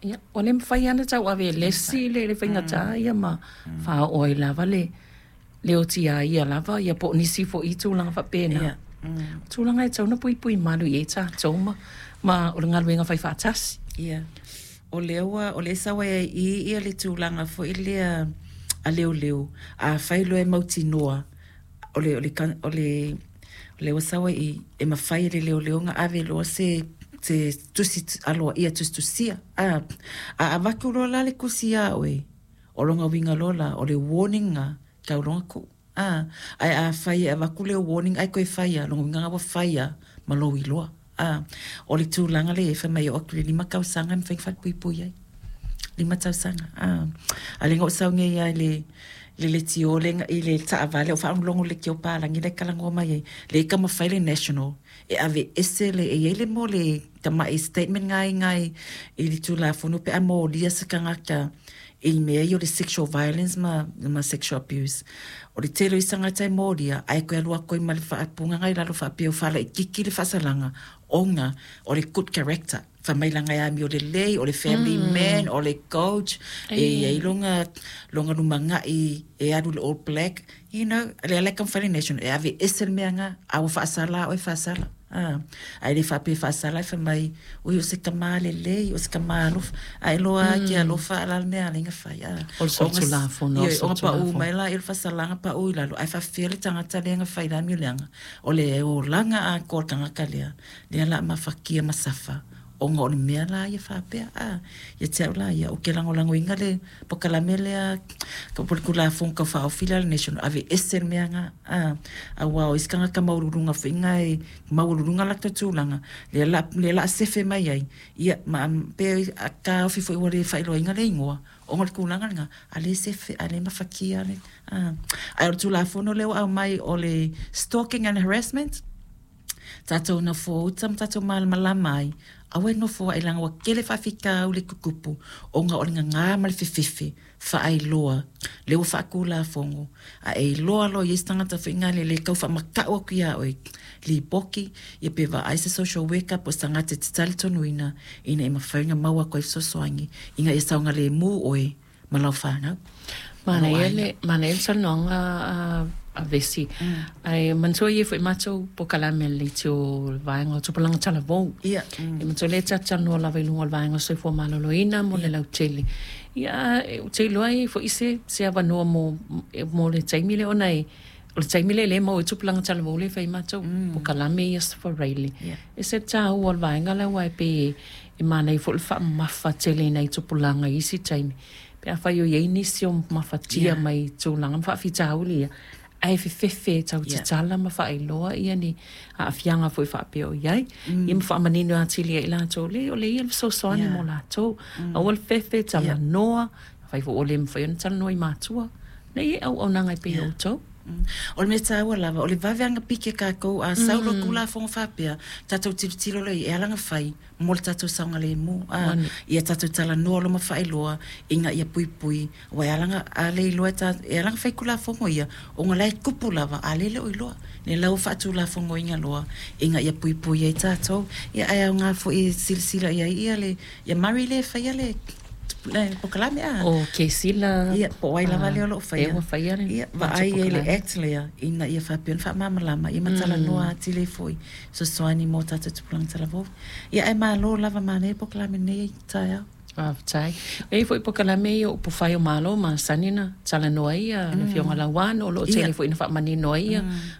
Ia, ua le mafai lava ona tauave e le isi le faigata ia ma faaoo ai lava le le otiaia lava ia po o nisi foi i tulaga faapena. Ia. O tulaga e tatau ona puipui malu i ai tatou ma o le galuega fai faatasi. Ia. O lea ua, o lea e sau ai i i ia le tulaga foi lea a leoleo, afai loa e mautinoa o le, o le, o le, o lea ua sau ai i i, e mafai e le leoleo ona ave loa se se tusi aloaia tusitusia. A, a avatu loa la le tusi ia oe, o lona uiga loa la, o le warning lena, tau loa ona tuu. A, ae afai e avatu le warning ae toe fai lava, lona uiga lena ua fai lava ma lou iloa. A, o le tulaga lea e i ai, fai mai e oo atu i le 5 tausaga e mafai ona falepuipui ai. 5 tausaga. A, a o lea na ou sau nei lava i le le leitio lea i le taavale o faalogologo i le leitio palagi la e talanoa mai ai, lea e taumafai le National e aveese le, e i ai le mea o le tamai statement lena i i le Tulafono pe a molia se tagata i mea ia o le sexual violence ma sexual abuse. O le tele o isi tagata e molia ae toe alu atu ai ma le faaupuga i lalo faapea ua faalaitiiti le faasalaga ona o le good character. Fai mai leaga e amio lelei, o le family man, o le coach, e i ai lona lumanai e alu i le All Black, you know, lea la e taumafai le National e aveese le mea lena, a ua faasala lava oe, faasala. Ae le faapea e faasala ae fai mai, oi o se tama lelei, o se tama alofa. Ae iloa lava e te alofa a o le a le mea e ala ai ona fai. O le solitulafono. Ioe, ona pau mai lea o le faasalaga pau i lalo, ae faapefea le tagata lea na fai le amio leaga? O le olaga atoa o le tagata lea, lea o le a mafatia ma safa ona o le mea la ia faapea. A, ia te au la ia, ou te lagolagoina le polokalame lea po o le Tulafono Tau Faaofi lea a le National, aveese le mea lena. A, aua o isi tagata maualuluga foi na e maualuluga latou tulaga, lea o le a sefe mai ai, ia ma pe taofi foi ua le faailoaina le igoa ona o le tulaga lena, a lea e sefe, a lea e mafatia. Ae o le Tulafono lea ua aumai o le Stalking and Harassment, tatou nofo uta ma tatou malamalama ai, aua e nofo ai leaga ua tele faafitauli e tutupu ona o le gaga ma le fefefe faailoa lea ua faatulafono. A e iloa loa e i ai se tagata foi lea e tau faamatau atu ia oe, lipoti, ia pe vaai se social worker po o se tagata e te talitonuina ina ia mafai ona maua atu ai fesoasoani ina ia saogalemu oe ma lau fanau. Manaia le, manaia le saunoaga a Vesi. Ae manatua e i ai foi matou polokalame a le leitio o le vaega o Tupulaga Talavou. Ia. E manatua lea ta te talanoa lava i luga o le vaega o le soifua maloloina mo le lautele. Ia, ou te iloa e i ai foi se, se avanoa mo, mo le taimi lea ona e, o le taimi lea lea e maua ai tupulaga talavou lea e fai ai matou polokalame ia faraile. E ese le taua o le vaega lea aua e pei e manaia foi le faamamafa tele i nai tupulaga i isi taimi pe afai o i ai nisi o mafatia mai tulaga ma faafitauli ia, ae fefefe e tau tatala ma faailoa ia ni aafiaga foi faapea o i ai, ia ma faamanino atili ai i latou, leai o lea e i ai le fesoasoani mo latou. Aua le fefe, talanoa, afai foi ua le mafai ona talanoa i matua, lea e i ai auaunaga e pei o outou. O le mea taua lava, o le vave lava ona pike tatou, a sau loa Tulafono faapea, tatou tilotilo loa i ai, e ala ona fai mo le tatou saogalemu, a, ia tatou talanoa loa ma faailoa ina ia puipui, aua e ala ona, a le iloa e tatou, e ala ona fai Tulafono ia, ona o la e tupu lava, a o lea e le o iloa. Lea la ua faatulafonoina loa ina ia puipui ai tatou. Ia ae aoga foi e silasila i ai ia le Ia Murray lea e faia le polokalame a? O Kesila. Ia, po o ai lava lea o lo o faia. Lea ua faia le Ia, vaai i ai i le Act lea, ina ia faapea ona faamalamalama, ia ma talanoa atili ai foi, fesoasoani mo tatou tupulaga talavou. Ia, ae malo lava, manaia le polokalame i lenei taeao. Faafetai. E i ai foi polokalame ia o Upufai o Malo masani ona talanoa ai le Afioga Lauano, o lo o tele foi ina faamanino ai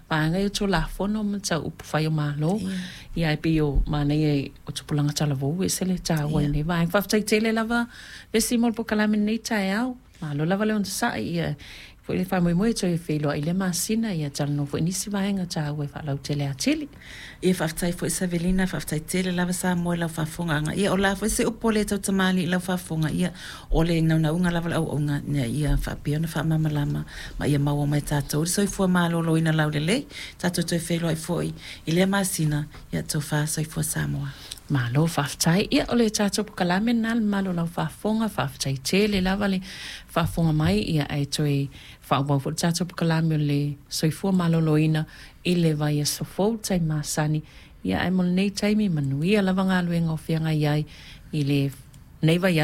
vaega ia o Tulafono ma tau Upufai o Malo. Ia ae pei o manaia o tupulaga talavou e ese le taua i lenei vaega. Faafetai tele lava Vesi mo le polokalame i lenei taeao. Malo lava le onosai ia foi le faamoemoe e toe feiloai i lea masina ia talanoa foi i nisi vaega taua e faalautele atili. Ia faafetai foi Savelina, faafetai tele lava Samoa i lau faafofogaaga. Ia o le a foi se upu a le tautamalii i lau faafofoga, ia o le naunautaiga lava o le auauna ina ia faapea ona faamalamalama ma ia maua mai e tatou le soifua maloloina laulelei. Tatou toe feiloai foi i lea masina, ia tofa soifua Samoa. Malo faafetai. Ia o le tatou polokalame lena le mamalu o lau faafofoga, faafetai tele lava le faafofoga mai, ia ae toe faaauau foi le tatou polokalame o le soifua maloloina i le vaiaso fou taimi masani. Ia ae mo lenei taimi, manuia lava galuega o feagai ai i lenei vaiaso.